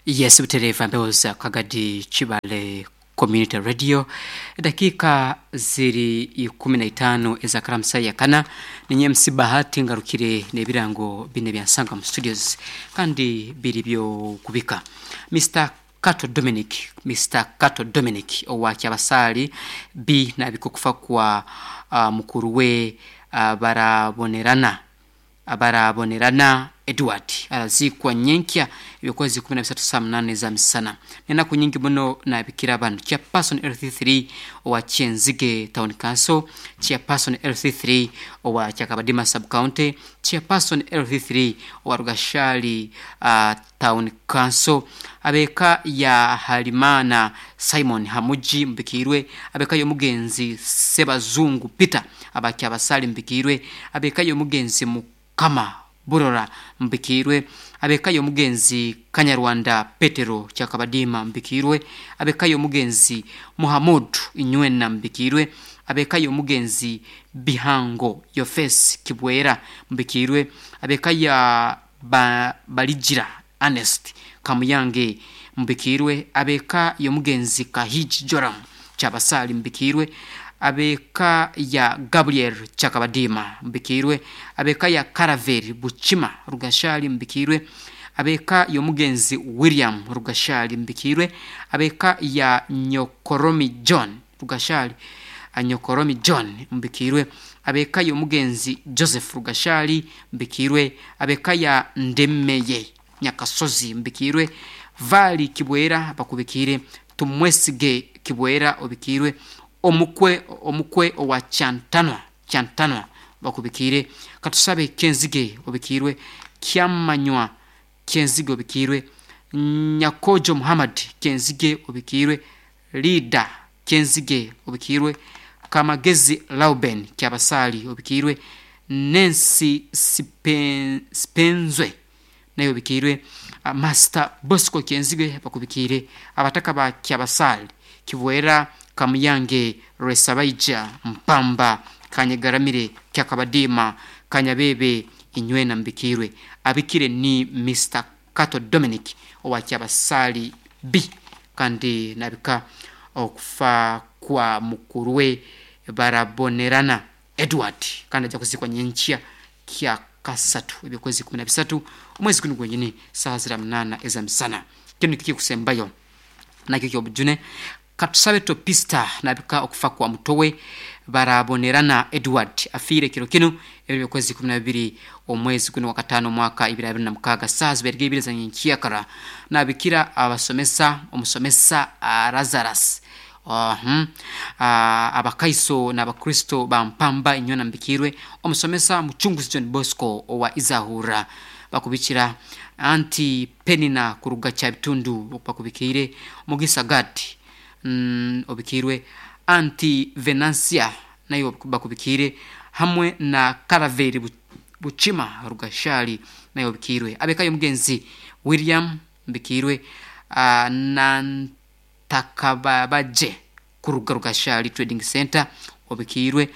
Yes, butereeva mpewo za Kagadi Kibale Community Radio. Edakiika ziri 15 eza karamusa ya kana. Ninye MC Bahati ngarukire n'ebirango bine bya Nsangam Studios kandi biri by'okubika. Mister Kato Dominic, Mister Kato Dominic owa Kyabasaali B nabika okufa kwa mukuru we Barabonerana. Barabonerana Edward araziikwa nyenkya eby'okwezi 13 saa munaana eza misana. N'enaku nyingi muno nabikira banu, Chairperson LC3 owa Kyenzige Town Council, Chairperson LC3 owa Kyakabadima Sub County, Chairperson LC3 owa Rugashali Town Council, ab'eka ya Halimana Simon Hamugi Mbikiirwe, ab'eka y'omugenzi Sebazungu Peter aba Kyabasaali Mbikiirwe, ab'eka y'omugenzi Mukama Burora Mbikiirwe, ab'eka y'omugenzi Kanyarwanda Petero Kyakabadiima Mbikiirwe, ab'eka y'omugenzi Muhamood Inywena Mbikiirwe, ab'eka y'omugenzi Bihango Yofesi Kibwera Mbikiirwe, ab'eka ya Baligira Ernest Kamuyange Mbikiirwe, ab'eka y'omugenzi Kahigi Joram Kyabasaali Mbikiirwe, ab'eka ya Gabriel Kyakabadiima Mbikiirwe, ab'eka ya Karaveri Bukima Rugashaali Mbikiirwe, ab'eka y'omugenzi William Rugashaali Mbikiirwe, ab'eka ya Nyokoromi John Rugashaali Nyokoromi John Mbikiirwe, ab'eka y'omugenzi Joseph Rugashaali Mbikiirwe, ab'eka ya Ndemeye Nyakasozi Mbikiirwe, Vali Kibwera Bakubikiire, Tumwesige Kibwera Obikiirwe, Omukwe Omukwe owa Kyantanwa Kyantanwa Bakubikiire, Katusabe Kyenzige Obikiirwe, Kyamanywa Kyenzige Obikiirwe, Nyakojo Muhammad Kyenzige Obikiirwe, Leader Kyenzige Obikiirwe, Kamagezi Lauben Kyabasaali Obikiirwe, Nancy Sipenzwe naye Obikiirwe, Master Bosco Kyenzige Bakubikiire, Abataka ba Kyabasaali, Kibwera, Kamuyange, Rwesabaija, Mpamba, Kanyegaramire, Kyakabadiima, Kanyabebe, Inywena Mbikiirwe. Abikire ni Mister Kato Dominic owa Kyabasaali B kandi nabika okufa kwa mukuru we Barabonerana Edward kandi aija kuziikwa nyenkya kyakasatu eby'okwezi 13 omwezi gunu gwenyini saaha zira munaana ez'amisana. Kinu nikyo kikusembayo nakyo ky'obujune. Katusabe Topista nabika okufa kwa muto we Barabonerana Edward afiire kiro kinu ebiro by'okwezi 12 omwezi gunu ogwakataano omwaka 2026 saaha zibaire ibiri za nyenkyakara. Nabikira abasomesa, omusomesa Lazarus, Abakaiso n'Abakristo ba Mpamba Inywena Mbikiirwe, omusomesa Mucunguzi John Bosco owa Izahurra bakubikira, Auntie Penina kuruga Kyabitundu bakubikiire, Mugisa Gad obikiirwe, Auntie Venansia nayo bakubikiire hamwe na Karaveri Bukima Rugashali nayo obikiirwe. Ab'eka y'omugenzi William Mbikiirwe Nantakababagye kuruga Rugashali Trading Centre obikiirwe,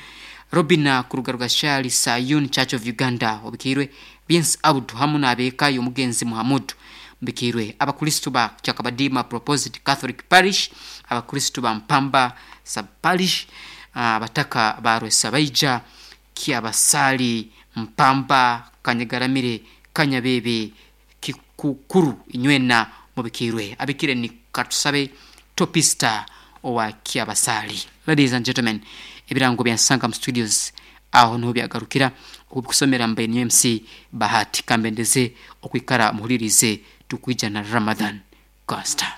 Robina kuruga Rugashali Sayuni Church of Uganda obikiirwe, Byensi Abdu hamu n'ab'eka y'omugenzi Muhamudu Mbikiirwe, Abakristo ba Kyakabadiima Proposed Catholic Parish, Abakristo ba Mpamba Sub Parish, Abataka ba Rwesabaija, Kyabasaali, Mpamba, Kanyegaramire, Kanyabeebe, Kikukuru inywena mubikiirwe. Abikire ni Katusabe Topista owa Kyabasaali. Ladies and gentlemen, ebirango bya Nsangam Studios aho niho byagarukira okubikusomera mbaire nyowe MC Bahati. Kambendeze okwikara muhulirize tukwija na Ramadhan Coaster.